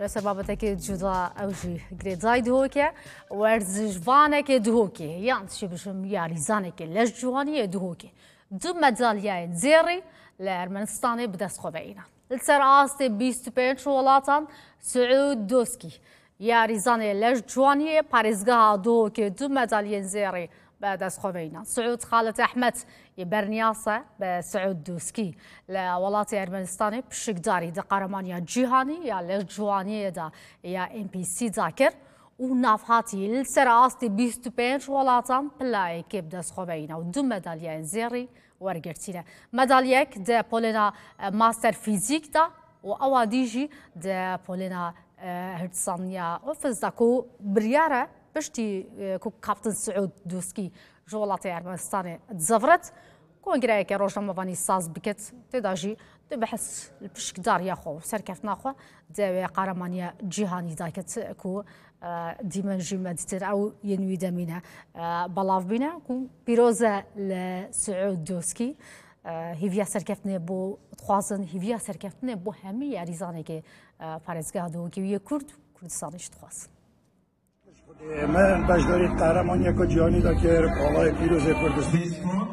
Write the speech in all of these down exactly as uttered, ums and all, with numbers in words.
Lêse babetekê cuda ew jî girêdayî Duhokê, werzişvanekê Duhokê, yan jî bijim yarîzanekê leşciwaniyê Duhokê, du medalyayên zêrî li Ermenistanê bi dest xwe ve înan. Li ser astê bîst û pênc welatan Siûd Doskî, yarîzanê leşciwaniyê parêzgeha Duhokê du medalyên zêrî bi dest xwe ve înan. Siûd Xalid Ehmed yê berniyas e bi Siûd Dûskî li welatê Ermenistanê pişikdarî di Qeremaniya Cîhanî ya leşciwaniyê de ya N P C da kir û navhatî li ser astê bîst û pênc welatan pilayekê bi dest xwe ve îna û du medalyayên zêrî wergirtîne. Medalyek di polêna, e, Master Fîzîk de û ewa dî jî di polêna, e, Hirdsaniya Ofis de ku biryar e piştî, e, ku Kaptin Siûd Dûskî ji welatê Ermenistanê dizevirit, kongreyeke rojnamevanî saz bikit, tê de jî dê behs li pişkdariya xwe û serkeftina xwe di wê qeremaniya cîhanî dakit ku, e, dîmen jî me dîtin ew yên wî demî ne, e, belav bîne ku pîroz e li Siûd Dûskî, e, hêviya serkeftinê bo dixwazin, hêviya serkeftinê bo hemî yarîzanekê, e, parêzgeha Duhokê û yê Kurd, Kurdistanê jî dixwazin. Me beşdarî qehremaniyeke cîhanî de kir, Alayê Pîrozê Kurdistan.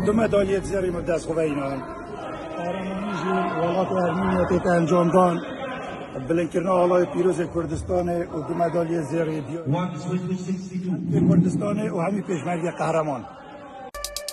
Du medalyê zêrî me bi dest xwe ve înan. Qehremanî jî welatê Ermeniyê tête encamdan. Bilindkirina Alayê Pîrozê Kurdistanê û du medalyê zêrî diyar. Kurdistanê û hemî pêşmergê qehreman.